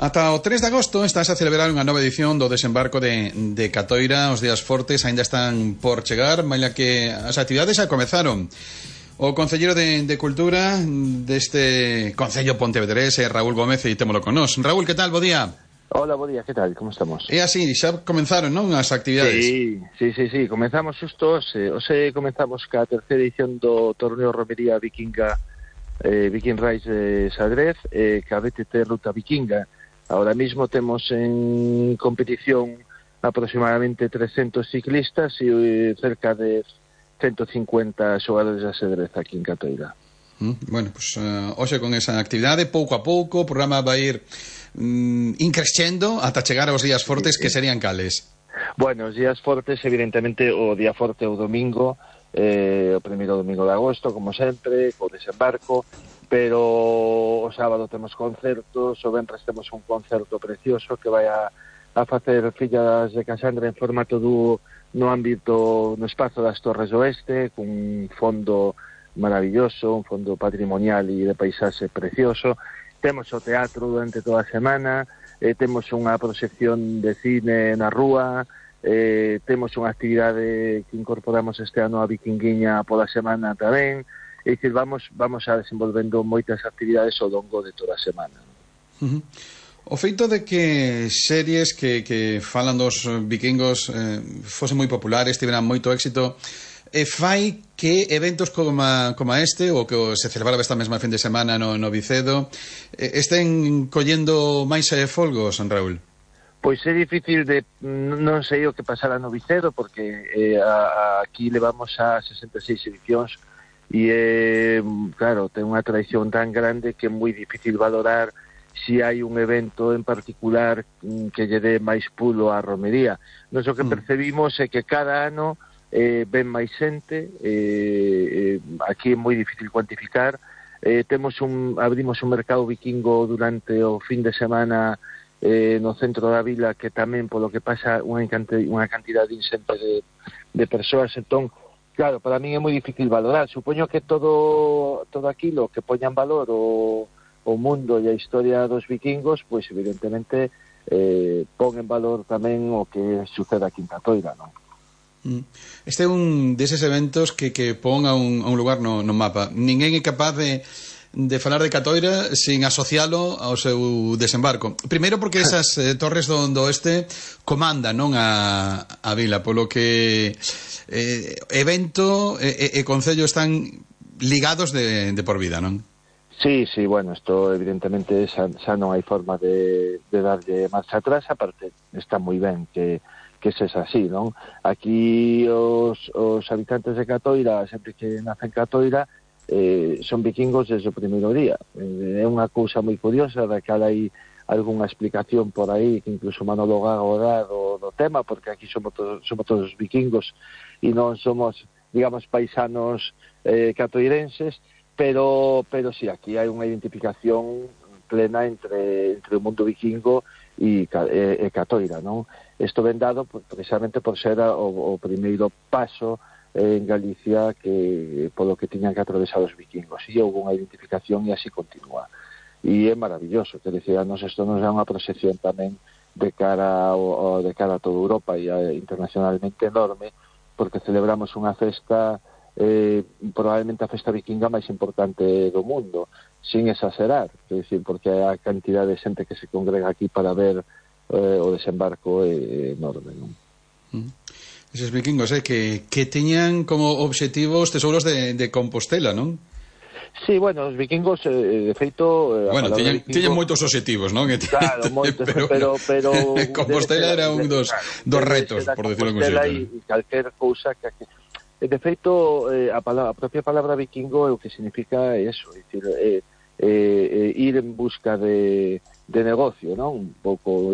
Ata o 3 de agosto estás a celebrar unha nova edición do desembarco de Catoira. Os días fortes aínda están por chegar, maila que as actividades xa comezaron. O concelleiro de Cultura deste Concello Pontevedrés é Raúl Gómez e témolo con nós. Raúl, que tal? Bo día. Hola, bo día, que tal? Como estamos? É así, xa comenzaron, non, as actividades? Sí, comenzamos xusto hoxe comenzamos ca terceira edición do torneo Romería Vikinga Viking Race de Sadrez ca BTT Ruta Vikinga. Ahora mismo temos en competición aproximadamente 300 ciclistas e cerca de 150 xogadores de ajedrez aquí en Catoira. Bueno, pues hoxe con esa actividade, pouco a pouco, o programa vai ir increscendo ata chegar aos días fortes, que serían cales? Bueno, os días fortes, evidentemente, o día forte é o domingo, o primeiro domingo de agosto, como sempre, co desembarco, pero o sábado temos concertos, o venres temos un concerto precioso que vai a facer Fillas de Casandra en formato dúo no ámbito, no espazo das Torres do Oeste, cun fondo maravilloso, un fondo patrimonial e de paisaxe precioso. Temos o teatro durante toda a semana, temos unha proxección de cine na rúa, temos unha actividade que incorporamos este ano a Vikinguiña pola semana tamén. É dicir, vamos a desenvolvendo moitas actividades ao longo de toda a semana. O feito de que series que falan dos vikingos fosen moi populares, tiveran moito éxito, fai que eventos como este, o que se celebraba esta mesma fin de semana no Vicedo, estén collendo máis folgos, Raúl? Pois é difícil de... non sei o que pasará no Vicedo, porque aquí levamos a 66 edicións e, claro, ten unha tradición tan grande que é moi difícil valorar se hai un evento en particular que lle dé máis pulo á romería. Nos o que percebimos é que cada ano ven máis xente, aquí é moi difícil cuantificar, abrimos un mercado vikingo durante o fin de semana no centro da vila, que tamén polo que pasa unha cantidade inxente de persoas. Entón, claro, para min é moi difícil valorar. Supoño que todo aquilo que poña en valor o mundo e a historia dos vikingos, pois evidentemente pon en valor tamén o que sucede aquí en Catoira, non? Este é un deses eventos que pon a un lugar no mapa. Ninguén é capaz de falar de Catoira sin asocialo ao seu desembarco. Primeiro porque esas torres do oeste comandan, non, a vila, polo que evento e concello están ligados de por vida, non? Sí, bueno, isto evidentemente xa non hai forma de darlle marcha atrás, aparte está moi ben que se é así, non? Aquí os habitantes de Catoira, sempre que nacen Catoira, son vikingos desde o primeiro día. É unha cousa moi curiosa, da que hai algunha explicación por aí, que incluso Manolo Gago dá do tema, porque aquí somos todos vikingos e non somos, digamos, paisanos catoirenses, pero sí, aquí hai unha identificación plena entre o mundo vikingo e Catoira, non? Isto ven dado precisamente por ser o primeiro paso en Galicia que polo que tiñan que atravesar os vikingos, e houve unha identificación e así continúa, e é maravilloso, que decía, isto nos dá unha proxección tamén de cara a toda Europa e internacionalmente enorme, porque celebramos unha festa probablemente a festa vikinga máis importante do mundo, sin exagerar, é dicir, porque a cantidad de xente que se congrega aquí para ver o desembarco é enorme, non? Eses vikingos que teñan como obxectivos tesouros de Compostela, non? Sí, bueno, os vikingos, de feito... Bueno, tiñen moitos obxectivos, non? Claro, moitos, pero Compostela era un dos retos, por decirlo como Compostela e calquer cousa que... De feito, a propia palabra vikingo o que significa é eso, é dicir, ir en busca de negocio, non? Un pouco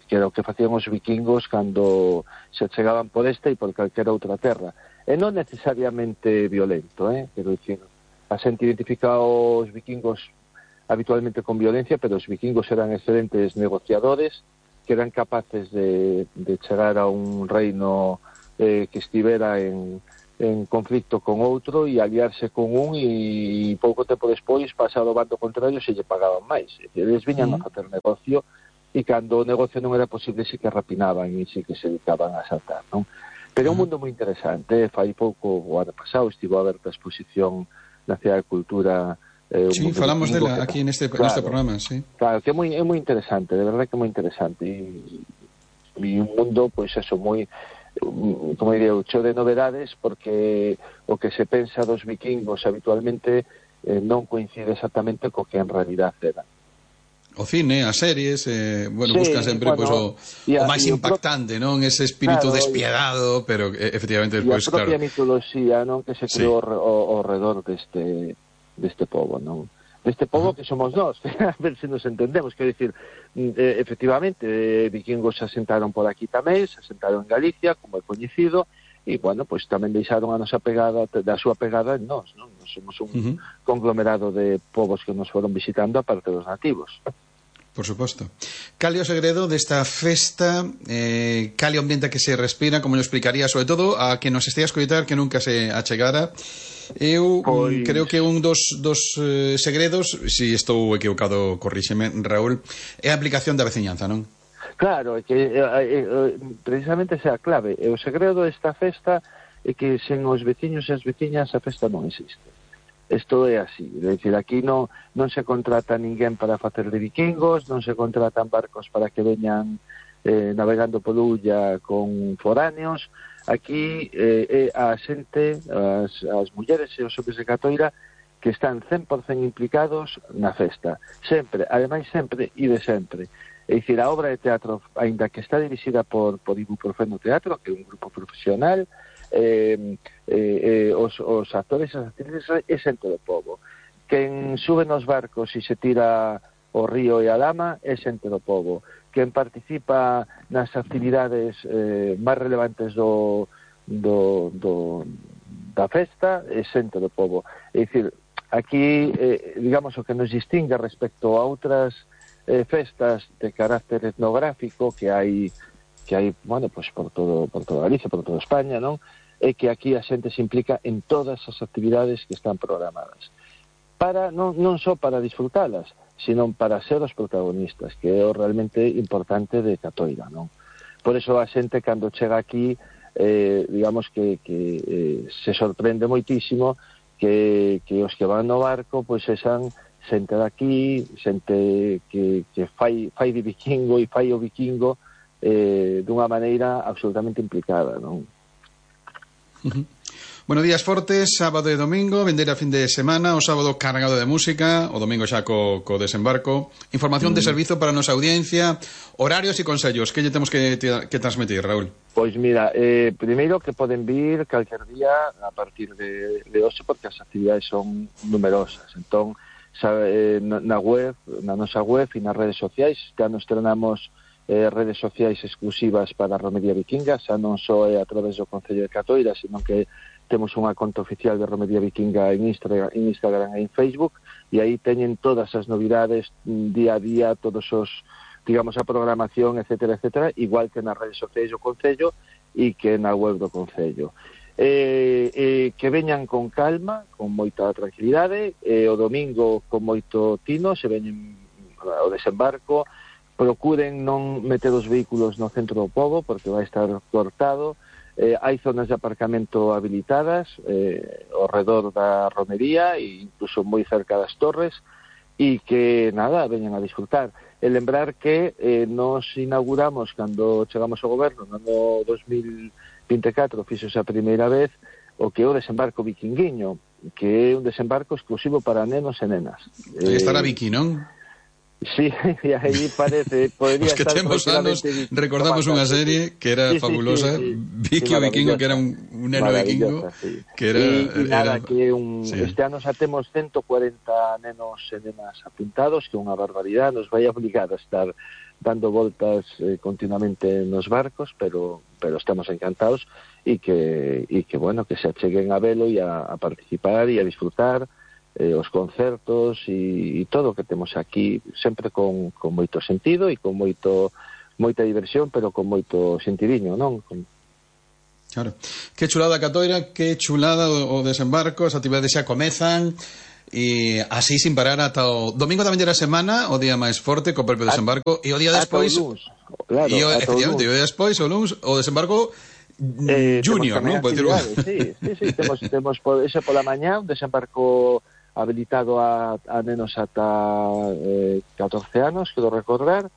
que era o que facían os vikingos cando se chegaban por esta e por calquera outra terra. E non necesariamente violento, quero dicir, a xente identifica os vikingos habitualmente con violencia, pero os vikingos eran excelentes negociadores, que eran capaces de chegar a un reino que estivera en en conflicto con outro e aliarse con un e pouco tempo despois pasado ao bando contrario se lle pagaban máis. Eles viñan a facer negocio e cando o negocio non era posible sí que rapinaban e sí que se dedicaban a asaltar, non? Pero é un mundo moi interesante. Fai pouco, o ano pasado, estivo aberta a exposición Nacional de Cultura. Sí, falamos dela aquí neste programa, sí. Claro, que é moi interesante, de verdade que é moi interesante. E un mundo, pois eso, moi, como diría, cheo de novedades, porque o que se pensa dos vikingos habitualmente non coincide exactamente co que en realidad era. O cine, as series, bueno, sí, buscan sempre bueno, o máis impactante, non? Ese espírito despiadado, pero efectivamente despois, claro. E a propia mitoloxía, non, que se creou ao redor deste pobo, non? Deste pobo que somos nós, a ver se nos entendemos, quero dicir, efectivamente, vikingos se asentaron por aquí tamén, se asentaron en Galicia, como é coñecido, e, bueno, pois tamén deixaron a nosa pegada, da súa pegada en nós, non? Nos somos un conglomerado de povos que nos foron visitando aparte dos nativos. Por suposto. Cal é o segredo desta festa? Cal é o ambiente que se respira? Como lo explicaría, sobre todo, a que nos estea a escoitar que nunca se achegara? Eu creo que un dos segredos, se estou equivocado, corríxeme, Raúl, é a aplicación da veciñanza, non? Claro, é que precisamente esa é a clave. O segredo desta festa é que sen os veciños e as veciñas a festa non existe. Isto é así, é dicir, aquí non se contrata ninguén para facer de vikingos, non se contratan barcos para que veñan navegando polo Ulla con foráneos. Aquí a xente, as mulleres e os homes de Catoira que están 100% implicados na festa, sempre, ademais sempre e de sempre. É dicir, a obra de teatro, aínda que está dirixida por Ibuprofeno Teatro, que é un grupo profesional, os actores e as actrices é xente do povo. Quen sube nos barcos e se tira o río e a lama é xente do povo. Quen participa nas actividades máis relevantes da festa é xente do povo. É dicir, aquí, digamos, o que nos distingue respecto a outras festas de carácter etnográfico que hai, bueno, pues por toda Galicia, por toda España, non? É que aquí a xente se implica en todas as actividades que están programadas. Non só para disfrutalas, sino para ser os protagonistas, que é o realmente importante de Catoira, non? Por eso a xente, cando chega aquí, digamos que se sorprende moitísimo que os que van no barco, pois sean xente daqui, xente que fai de vikingo e fai o vikingo dunha maneira absolutamente implicada, non? Bueno, días fortes, sábado e domingo, vendeira fin de semana, o sábado cargado de música, o domingo xa co desembarco. Información de servizo para a nosa audiencia, horarios e consellos. Que lle temos que transmitir, Raúl? Pois mira, primeiro que poden vir calquer día a partir de hoxe, porque as actividades son numerosas. Entón, na nosa web e nas redes sociais, xa nos estrenamos redes sociais exclusivas para a Romería Vikinga, xa non só é a través do Concello de Catoira, sino que temos unha conta oficial de Romería Vikinga en Instagram e en Facebook, e aí teñen todas as novidades día a día, todos os, digamos, a programación, etcétera, etcétera, igual que nas redes sociais do Concello e que na web do Concello. Que veñan con calma, con moita tranquilidade, o domingo con moito tino, se veñen ao desembarco, procuren non meter os vehículos no centro do pobo, porque vai estar cortado. Hai zonas de aparcamento habilitadas ao redor da romería e incluso moi cerca das torres, e que, nada, veñan a disfrutar. E lembrar que nos inauguramos, cando chegamos ao goberno, no ano 2024, fixose a primeira vez o que é o desembarco vikinguiño, que é un desembarco exclusivo para nenos e nenas. Aí estará Viki, non? Sí, e aí parece, podría estar... Os que temos anos recordamos unha serie que era fabulosa, Viki o Vikingo, que era un neno vikingo, que era... Este ano xa temos 140 nenos e nenas apuntados, que é unha barbaridade, nos vai obligar a estar dando voltas continuamente nos barcos, pero estamos encantados e que, bueno, que se acheguen a velo e a participar e a disfrutar os concertos e todo o que temos aquí, sempre con moito sentido e con moita diversión, pero con moito sentidiño, non? Claro. Que chulada Catoira, que chulada o desembarco, as actividades xa comezan e así sin parar ata o domingo da vindeira semana, o día máis forte co propio desembarco, e o día despois claro, e efectivamente, o día despois o luns o desembarco junior, non? Sí, temos por ese pola mañá un desembarco habilitado a nenos ata 14 anos, quero recordar,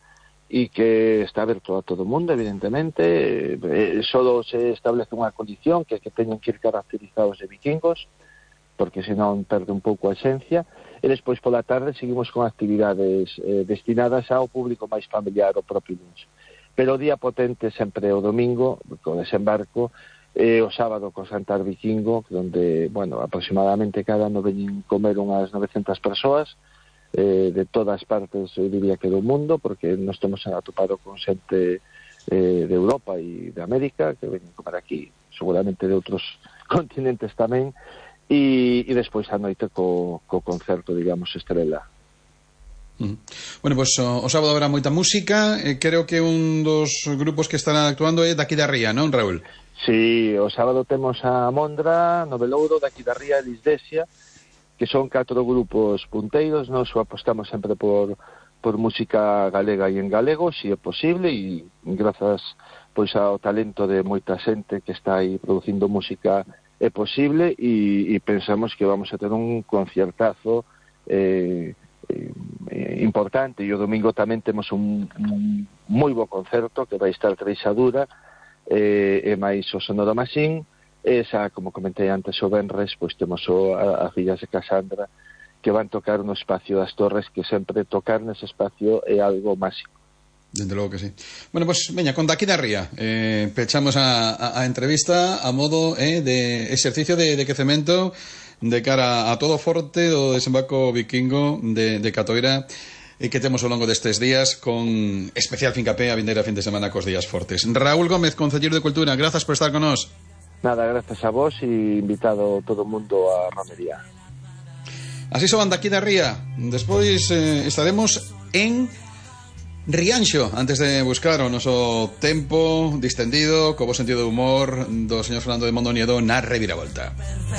e que está aberto a todo o mundo, evidentemente. Solo se establece unha condición, que teñen que ir caracterizados de vikingos, porque senón perde un pouco a esencia, e despois pola tarde seguimos con actividades destinadas ao público máis familiar, o propio luns. Pero o día potente sempre o domingo, co desembarco, o sábado co Santar Vikingo, onde, bueno, aproximadamente cada ano veñen comer unhas 900 persoas, de todas partes, eu diría que do mundo, porque nos temos atopado con xente de Europa e de América, que veñen comer aquí, seguramente de outros continentes tamén, e despois a noite co concerto, digamos, estrela. Bueno, pues o sábado habrá moita música, creo que un dos grupos que estará actuando é daqui da Ría, non, Raúl? Sí, o sábado temos a Mondra, Novelouro, daqui da Ría e Lisdesia, que son 4 grupos punteiros. Nós apostamos sempre por música galega e en galego, se é posible, e grazas pois ao talento de moita xente que está aí producindo música é posible, e pensamos que vamos a ter un conciertazo importante, e o domingo tamén temos un moi bo concerto que vai estar Treixadura e máis o Sonoro Machine. Esa, como comentei antes, o venres, pois temos a Fillas de Casandra, que van tocar no espacio das Torres, que sempre tocar nese espacio é algo máxico. Dende logo que sí. Bueno, pues veña, con daqui da Ría pechamos a entrevista a modo de exercicio de quecemento de cara a todo o forte do desembarco vikingo de Catoira, e que temos ao longo destes días, con especial fincapé a vindeira fin de semana cos días fortes. Raúl Gómez, concelleiro de Cultura, grazas por estar con nós. Nada, gracias a vos, e invitado todo o mundo a romería. Así son daqui da Ría. Despois estaremos en Rianxo, antes de buscar o noso tempo distendido, co bo sentido de humor do señor Fernando de Mondoñedo na reviravolta.